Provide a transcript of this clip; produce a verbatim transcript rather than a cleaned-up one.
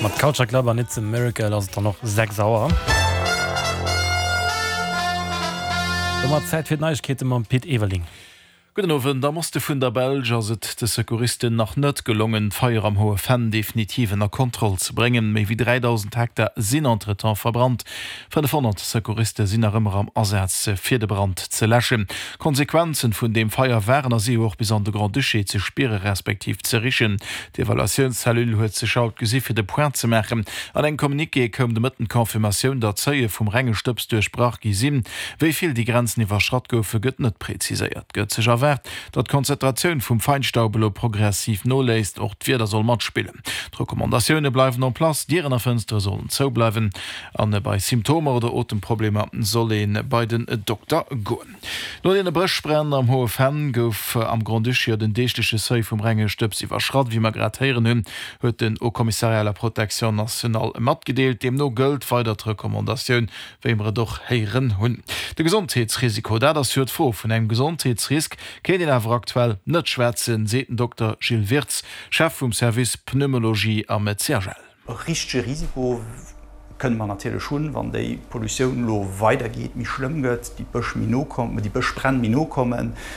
Mat Culture Club an It's a Miracle ass et dann och sechs Auer. Domat Zäit fir d'Neiegkeete mam Pit Everling. Gudden Owend. Am Oste vun der Belsch ass et de Secouristen nach net gelongen, d'Feier am Hohe Venn definitiv ënner Kontroll ze bréngen. Méi wéi dräidausend Hektar sinn entretemps verbrannt. fënnefhonnert Secouriste sinn nach ëmmer am Asaz, fir de Brand ze läschen. D'Konsequenzen vun deem Feier waren a si jo och bis an de Grand-Duché ze spiere respektiv ze richen. D'Evaluatiounscellule huet sech haut gesi fir de Point ze maachen. An engem Communiqué koum de Mëtten d'Confirmatioun, datt d'Seuile vum renge Stëbs duerchbrach gi sinn. Wéi vill déi Grenzen iwwerschratt goufe gëtt net präziséiert. Gëtt sech erwaart, datt d'Konzentratioun vum Feinstaub elo progressiv noléisst. Och d'Wieder soll matspillen. D'Recommandatioune bleiwen en place, Dieren a Fënstere sollen zou bleiwen a bei Symptomer oder Otemproblemer soll ee bei den Dokter goen. No deene Bëschbränn am Hohe Venn gouf am Grand-Duché jo den deegleche Seuil vum renge Stëbs iwwerschratt. Wéi mer grad héieren hunn, huet den Haut Commissariat à la protection nationale matgedeelt. Deemno gëllt weider d'Recommandatioun, wéi mer et och héieren hunn. De Gesondheetsrisiko, dat ass jo d'Fro. Vun engem Gesondheetsrisk kéint een awer aktuell net schwätzen, seet den Dokter Gilles Wirtz, Chef vum Service Pneumologie am C H L. E richtege Risiko kënne mer natierlech hunn, wann déi Pollutioun elo weidergeet, méi schlëmm gëtt, déi Bësch méi no kommen, déi Bëschbränn méi no kommen.